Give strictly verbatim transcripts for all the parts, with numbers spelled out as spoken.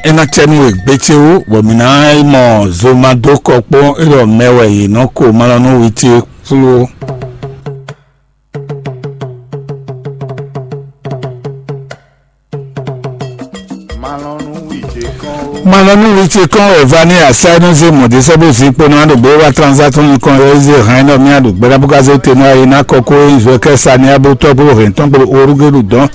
É ná cɛ nú we gbécéwu, bɔ mǐ ná yi mɔ zo ma dó kɔ kpó é ɖɔ mɛ wɛ yě nɔ ko malɔnúwi ce flú ó. Malɔnúwi ce kɔn wɛ va ní asá nú zé mɔ̌ dé sɛ́ bó zǐn kpo ná ɖo gbé wá transaction nukɔn yɔ zé hɛn nɔ mía ɖo gbɛɖá bó ka zé te nú ayi ná kɔkó e zɔ kɛ sa ní abó tɔ́ bó hɛn tɔn kpo orúgéɖu dɔn.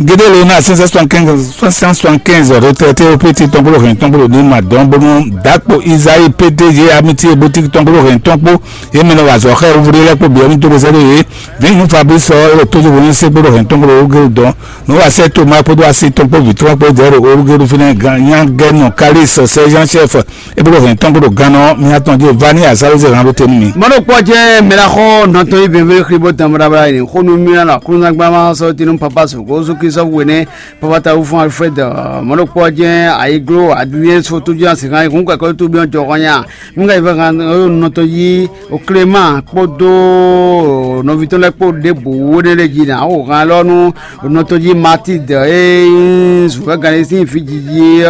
Gédé lo ná cinq cent soixante-quinze, cinq cent soixante-quinze retraité ó pété tɔn kpo hɛn tɔn kpo ní ma dɔn bónú dǎkpo Isayi pété yé amitié boutique tɔn kpo hɛn tɔn kpo yé mɛ nɔ wa zɔ xɛ wúvúɖé lɛ́ kpo bǐ ɔ́ ní dó bó sɛ́ ɖó yé. Vǐ nú Fabrice ɔ́, é ɖo tójúbú ní sé kpo hɛn tɔn kpo orúgéɖu dɔn. Nú wa sɛ́ Toma kpódó asi tɔn kpo vǐ tɔn kpó dɛ̌ ɖo orúgéɖu fínɛ́ gán nyá gɛ́ nɔ Kalísi sɛ́ Jean chef. É bó ɖo hɛn tɔn kpo ɖo gannɔ mía tɔn jí vá ní azǎlózɛ hǎn ɖó te nú mi. Mɔɖokpɔ́ jɛ́n mɛ ná xɔ nɔtɔn yí bɛnbɛn xlí bó tán bláblá yi xó nú mì ná xlúnzán gbá má sɔ́ tinú papa sǒgó Jezu Kristu hwenɛ́ papa ta wúfún Alfred. Mɔɖokpɔ́ jɛ́n ayiglo adúyɛ sótó jɛ́n asi hán yi hún kɛkɔ́ tó byɔ́ jɔ hɔn nya. Nú ká yi fɛ hán nɔtɔn yí o Clément kpódó nɔví tɔn lɛ́ɛ kpó ɖěbǔ wónɛ́ lɛ́ɛ jí ná xo hán lɔ nú nɔtɔn jí Matilde e nyí zǔvɛ́gán e sín vǐ jiji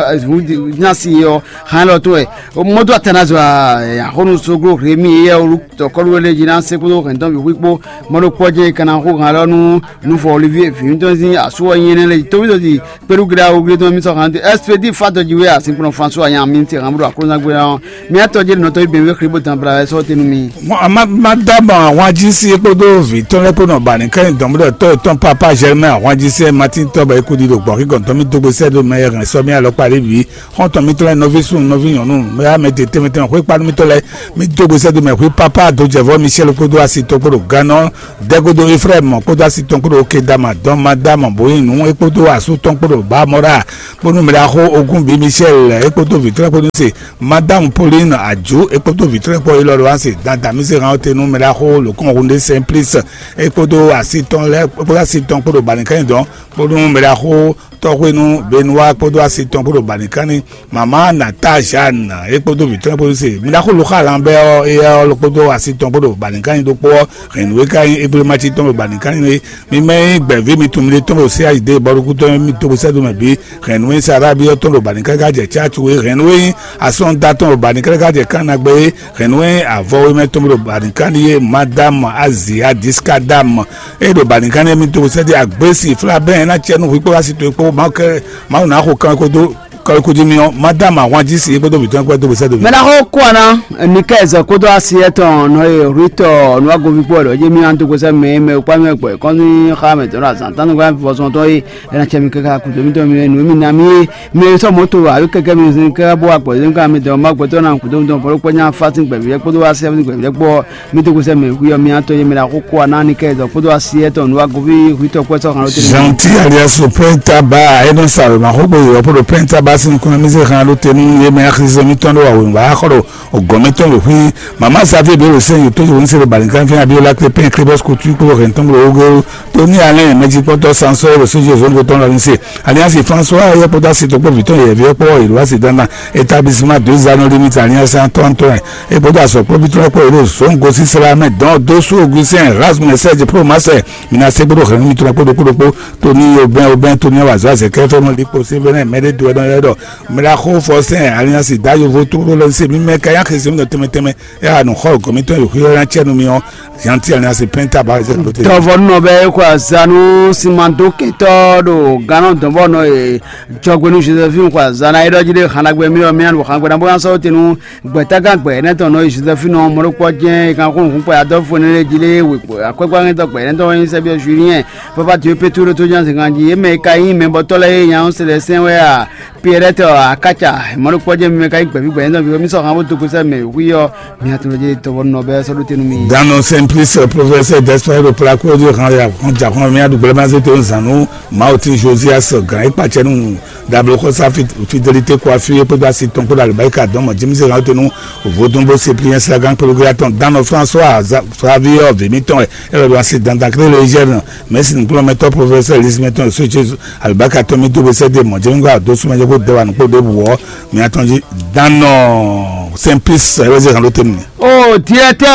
nyasi ɔ́ hán lɔ tɔn wɛ. Mɔdó Atanazo, axɔ́nú Soglo Rémi éyɛ́ wú tɔkɔ́lú lɛ́ɛ jí ná se kpódó hɛ̌ntɔn bǐ xwí kpó. Mɔɖokpɔ́ jɛ́n è ka ná xo hǎn lɔ nú nufɔ Olivier vǐ tɔn sín asú ɔ́ nyí énɛ́ lɛ́ɛ jí tóbítɔ́ jí kpéɖú gleɖá wú gleɖá tɔn mì sɔ́ hǎn dó Expédit Fatɔ́ jí wé asinkplɔ́n François nya mi ti hǎn bó ɖo aklúnúzágbé ɔ́. Mì atɔ́ jí nɔtɔ́ yí bɛ̌nwé xlí bó dan bla wɛ sɔ́ tenu mi. Mɔ a má má dá mɔ ahwan jí sí é kpódó vǐ tɔn lɛ́ɛ kpó nɔ ba nǐ kɛ́ nyi dɔ̌n bó ɖɔ tɔ́ yětɔn Papa Germain ahwan jí sí é Matín tɔ́ bɔ é kú ɖi ɖo gbɔ̌xígɔ̌n tɔn mì dó gbe sɛ́ dó mɛ e hɛn sɔ́ mì alɔkpa ɖé bǐ. Xɔ́ntɔn mitɔn lɛ́ɛ, nɔví súnnu, nɔví nyɔ̌nu, mɛ amɛ te tɛnmɛ tɛnmɛ xwé kpanu mitɔn lɛ́ɛ, mì dó gbe sɛ́ dó mɛ xwé Papa Dojɛvɔ Michel kpódó asi tɔn kpó ɖo Gannɔ, Dɛgodo Efrayim kpódó asi tɔn kpó ɖo Kedama dɔn Madama bó nyí nǔ é kpódó asú tɔn kpó ɖo Bamɔra, bónú mɛ ɖaxó ogún bǐ Michel é kpódó vǐtrɛ́ kpódó se Madame Pauline Adjou é kpódó vǐtrɛ́ kpó élɔ́ ɖo asi dandan mì se hàn te nú mɛ ɖaxó lǒkɔn Hunde Simplice é kpódó asi tɔn lɛ́ɛ kpódó asi tɔn kpó ɖo Banikɛnyi dɔn, bónú mɛ ɖaxó tɔxwénu Benoit kpódó asi tɔn kpó ɖo Banikɛnyi. Mama Nata Jeanne é kpódó vǐ tɔn kpódó se mi ɖaxó Luxa Lambert ɔ́, éyɛ́ ɔ́ kpódó asi tɔn kpó ɖo Banikɛnyi ɖokpó ɔ́, hɛ̌nnu e ka nyí Egblemaci tɔn ɖo Banikɛnyi é. Mi mɛ e nyí gbɛ̌ví mitɔn mi ɖe tɔn ɖo C H D bɔɖokútɔn mi dó gbe sɛ́ dó mɛ bǐ. Hɛ̌nnu e nyí Sarabi ɔ́ tɔn ɖo Banikɛnyi ka jɛ Tchatu é. Hɛ̌nnu e nyí Asɔ́nda tɔn ɖo Banikɛnyi ka jɛ Kánagbe é. Hɛ̌nnu e nyí avɔ e mɛ tɔn ɖo Banikɛnyi é, Madame Azia Diskadam é ɖo Banikɛnyi mi dó gbe sɛ́ dó agbésì flabɛn ná cɛ nú hwǐ kpó asi towe kpó Mawu kɛ Mawu ná xo kan kó dó kɔ́líkújí mì ɔ́, Madame ahwanjí si é kpódó mǐtɔn kpó dó gbe sɛ́ dó mì. Mɛ ɖaxó kú ana, Nikɛzɔ kpódó asi etɔn nɔ e Rutɔ nǔwagoví kpó wɛ ɖɔ jé mì ná dó gbe sɛ́ mɛ e mɛ kpá mì wɛ gbɔ kɔn ní xá mɛ tɔn ɖo azǎn tán nukún vɔzɔn tɔn e é ná cɛ mì káká kúdó mì tɔn mì nǔ e mì ná mì é. Mɛ e sɔ́ mɔ̌ to alo kɛkɛ́ mì zin káká bó wa gbɔ̌ zin ká mì dɔn má gbɛtɔ́ ná kúdó mì tɔn bɔ̌ kpó nyá fá sín gbɛ̌ví lɛ́ɛ kpódó wá sɛ́ sín gbɛ̌ví lɛ́ɛ kpó ɔ́, mì dó gbe sɛ́ mɛ hwí ɔ́ mì ná tɔ́ yé mɛ ɖaxó kú ana Nikɛzɔ kpódó asi etɔn nǔwagoví Rutɔ kpó sɔ́ hàn ló tɛ́. Gentil alias Pɛntaba, é nɔ sa wěma xó gbe yɔ̌ kpódó Pɛntaba sín nukúnmɛ mì zé hàn ló tɛ́ nú yé mɛ axizɔ mǐtɔn ɖo wǎwé wǎ xɔ ɖo gɔ̌n mítɔn ɖo xwí. Mama Xavier Belo sɛn yo tójó ní se ɖo Balinkan fín Abiola Clépin Clébɔs Couture kpó hɛn tɔn ɖo Ogo Tony Alain mɛjikpɔ́tɔ́ Sansɔ́ ɖo Sójú Zone kó tɔn lɔ ní se. Alias François yɛ kpódó asi tɔn kpó vǐ tɔn yɛ̌ví ɔ́ kpó yě ɖo asi dandan établissement deux anneaux limite alias Antoine Antoine é kpódó azɔ̌ kpó vítɔ́ kpó yě ɖo Zongo sísla mɛ dɔn dó sú Augustin Erasme Serge Promaxɛ. Mina se kpódó hɛn mítɔn kpódó kpódó kpó Tony Obɛn Obɛn Tony Wazɔ Azɛkɛ fɛn mɔ likpo se vɛnɛ mɛ ɖé do ɛnɔ yɛ ɖɔ mɛ ɖo axó fɔ sɛn alias da yovo tó ɖó lɔ se mímɛ ka yá xese mítɔn tɛmɛ tɛmɛ. Ɛ anɔ xɔ gɔmítɔn yòókù yɔ ná cɛ nú mi ɔ́, yanti alias pɛnta ba zɛ lóte. Dɔvɔnɔ bɛ xɔ azanu simando kɛtɔ ɖo ganɔ dɔnbɔnɔ e jɔgbenu Josephine xɔ azana e ɖɔ jí ɖe xanagbɛ mi ɔ́ mi anɔ xanagbɛ na bó ná sɔ́ tenu gbɛtagán gbɛ ɛnɛ tɔn nɔ Josephine ɔ́ mɔɖokpɔ jɛn e kan xó nukún kpɛ adɔfo ne lé jí lé we akwɛkpɛ ŋɛtɔ gbɛ ɛnɛ tɔn ɔ́ nyí sɛbi ɔ Julien papa Dieu Petro ɖo tó nya zɛngán jí e mɛ e ka nyí mɛbɔtɔ lɛ́ɛ e nya ɔ́ se lɛ sɛn wɛ a Pierrette Akaca mɔɖokpɔ́jɛ́ mi mɛ ka nyí gbɛ̌ví gbɛ̌ nyí nɔví mi sɔ́ han bó dó kúsɛ mɛ wí ɔ́ mi atún lɔ jɛ tɔbɔ nɔ bɛ sɔ́ ɖó tenu mi. Dano Simplice, professeur d'espagnol, placo de han ya hɔn ja hɔn mi aɖu gbɛlɛ ma zé to zan nú Mawutin Josias gan e kpacɛ nú dablo xɔsa Fidelité Coiffure kpódó asi tɔn kpódó alibarika dɔn mɔ James gan to nú vodun bó Cyprien Sagan kpódó gla tɔn Dano François Flavio vèmítɔn ɛ ɛ lɔ do asi dandan kéré le jɛ nɔ mɛ si nukplɔmɛtɔ professeur Lismɛtɔn so Jesu Alibaka tɔn mi dó be sɛ́ dé mɔ̌ jɛ mi gba dó súnmọ́ jɛ kó dɛ wa nǔkpó ɖěbǔ ɔ́ mi atɔn jí dán nɔ Simplice ɛ wɛ zé hɛn ló tɛ́ mi. O directeur,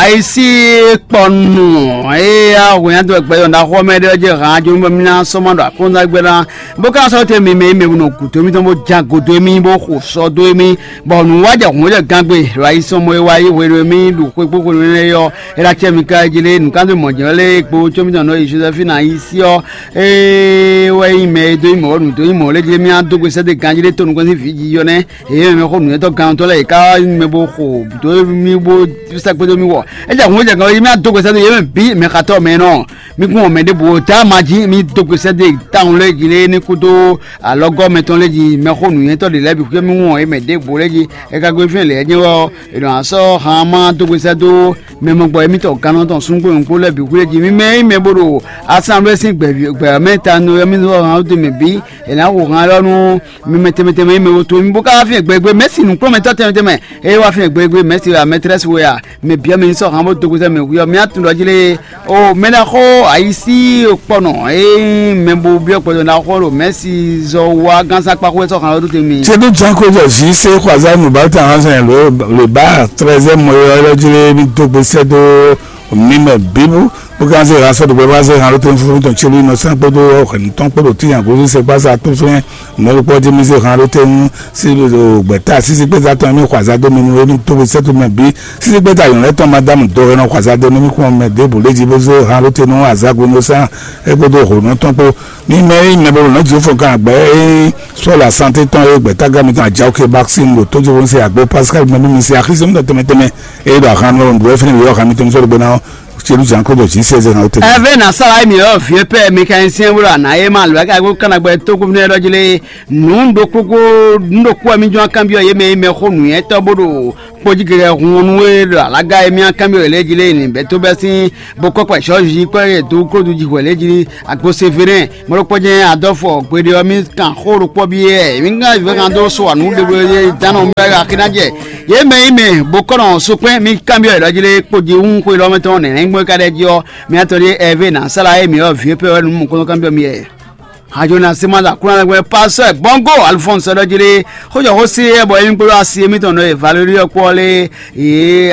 ayisi kpɔnu, eya hwenya dɔ gbɛ yɔ na xɔ mɛ ɖe jɛ han jo mi bɔ mi na sɔmɔ ɖo akɔnza gbɛ na. Bo ka sɔ te mi mɛ mi bu no guto mi tɔn bo jan godo mi bo xo sɔ do mi. Bɔ nu wa jɛ hun jɛ gangbe, lo ayi sɔmɔ e wa yi hwe mi ɖu xwe kpo hwe ne yɔ. Era cɛ mi ka ji le nu kan do mɔ jɛ le kpo tso mi tɔn no yi Josephine ayisi ɔ. E wɛ yi mɛ e do yi mɔ nu do yi mɔ le ji mi a do gbe sɛ de ganji le to nu kɔn si vi ji yɔ nɛ. Eye mɛ xo nǔnywɛ́tɔ́ gannutɔ́ lɛ́ɛ yě ká wá nyí mɛ bó xo dó mì bó sɛkpé dó mì wɔ. É jɛ hǔn é jɛ gan é mì adó gbe sɛ́ dó yě mɛ bǐ mɛ xatɔ́ mɛ nɔ. Mì kún wɔ mɛ ɖěbǔ tá ma jí mì dó gbe sɛ́ dó tawun lɛ́ɛ jí lé ní kúdó alɔgɔ́ mɛtɔn lɛ́ɛ jí mɛ xo nǔnywɛ́tɔ́ ɖě lɛ́ɛ bǐ xwé mì wɔn é mɛ ɖěbǔ lɛ́ɛ jí. É ka gbe fín lɛ̌ jɛ́n wɛ ɔ́, è nɔ asɔ́ han ma dó gbe sɛ́ dó mɛ mɔgbɔ émítɔn gannutɔ́ súngbó nyɔ̌kú lɛ́ɛ bǐ xwé jí. Mì mɛ é mɛ bó ɖo asanvlɛ́ sín gbɛ̌ mɛ ta nɔ yɔ mì zɔ́ han dó mɛ bǐ. È nǎ hu han élɔ́ nú mi mɛ tɛnmɛ tɛnmɛ e mɛ wo to mi bó ká wá fín gbɛgbɛ mɛ̌si nǔkplɔ́nmɛtɔ́ tɛnmɛ tɛnmɛ. Eye wá fín gbɛgbɛ mɛ̌si wɛ mɛtrɛ́si wɛ a? Mɛ bǐ mi sɔ́ han bó dó gbe sɛ́ mɛ hwí ɔ́ mi atún ɖɔ jí lé. O mɛ ná xó ayisí kpɔnɔ e mɛ bo byɔ́ gbɔdɔ ná xó ɖo mɛ̌si zɔ wá gánsákpá xó sɔ́ han lɔ dó te mi. Cédú Janko jɔ zi se xwaza nu bá tàn hàn sɛn le ba trɛzɛ mɔ yɔ yɔ jí lé mi dó gbe sɛ́ dó mi mɛ bíbú. Bó ká zé han sɔ́ ɖo gbɛ bá zé han ló tɛn fúnfún tɔn célu nɔ sán kpódó hwɛ̌nu tɔn kpódó tíyan gosín sɛkpása tó fɛ́n. Mɔ̌ ɖokpó ɔ́ jí mì zé han ló tɛn sísí gbɛ̌ta sísí kpéza tɔn mì xɔ azǎn dó mi nú émí tó we sɛ́ tó mɛ bǐ. Sísí gbɛ́ta nyɔ̌nu lɛ́ɛ tɔn Madámu do e nɔ xɔ azǎn dó nú mì kún mɛ ɖěbǔ lé jí bó zé han ló tɛn nú azǎn gbe nú sán é kpódó hwěnu tɔn kpó. Mì mɛ e nyí mɛ bó ɖo nɔ̌ jǐ fɔ́n kan gbɛ̌ é nyí Sɔ́la Santé tɔn e gbɛ̌tágán mitɔn Ajawu Kebaksin ɖo tójóhónú se àgbo Pascal mɛ nú mi se axísí mítɔn tɛnmɛ tɛnmɛ. É ɖo ahan nɔ ɖu wɛ fínɛ́ wǐwá ahan mitɔn mi sɔ́ ɖo gbe ná ɔ́. Celu Janko ɖo jǐ sɛzɛ ná wótɛn. Ɛvɛ na sala emi ɔ vieux père mécanicien bó ɖo ana ye ma lo aka ko kana gbɛ tó ko fínɛ́ ɖɔ jí lé. Nǔ ɖokpókpó nǔ ɖokpó wɛ mí jɔ́n kanbyɔ́ yě mɛ e mɛ xó nǔnywɛ́tɔ́ bó ɖo kpójí gɛgɛ hun ɔ́ nú é ɖo alága e mí kanbyɔ́ yě lɛ́ɛ jí lé. Nǐ bɛ́ tó bɛ́ sín bó kɔ́ kpɛ sɔ́ jí kɔ́ yě dó klódú jí hwɛ lɛ́ɛ jí. Agbo Severin mɔɖokpɔ́ jɛ́n adɔ́fɔ gbeɖé ɔ́ mí kan xó ɖokpɔ́ byɔ́ yɛ mí ŋá vɛ́ kan dó so anǔ ɖeɖe e dán nɔ mí wá axi ná jɛ. Yě mɛ yi mɛ bó kɔ́ nɔ sokpɛ́n mí kanbyɔ́ yě ɖɔ jí lé kpó jí hún xwe lɔmɛ tɔn nɛnɛ gbɔn ka ɖɛ jí ɔ́. Mí atɔn ɖíe Ɛvé nǎ sala émí ɔ́ vǐ e pɛ́ wɛ nǔ mɔ̌kɔ́nɔ kanbyɔ́ mí yɛ. Hajo na sima la kúrán lɛ́ gbɛ́ pásɔ ɛ gbɔ́ngó alifɔ́nsɔ ɖɔ jí lé. Xójɔ xó sí ɛ bɔ émí kpódó asi émítɔn nɔ e Valérie ɔ́ kpó ɔ́ lé. Yě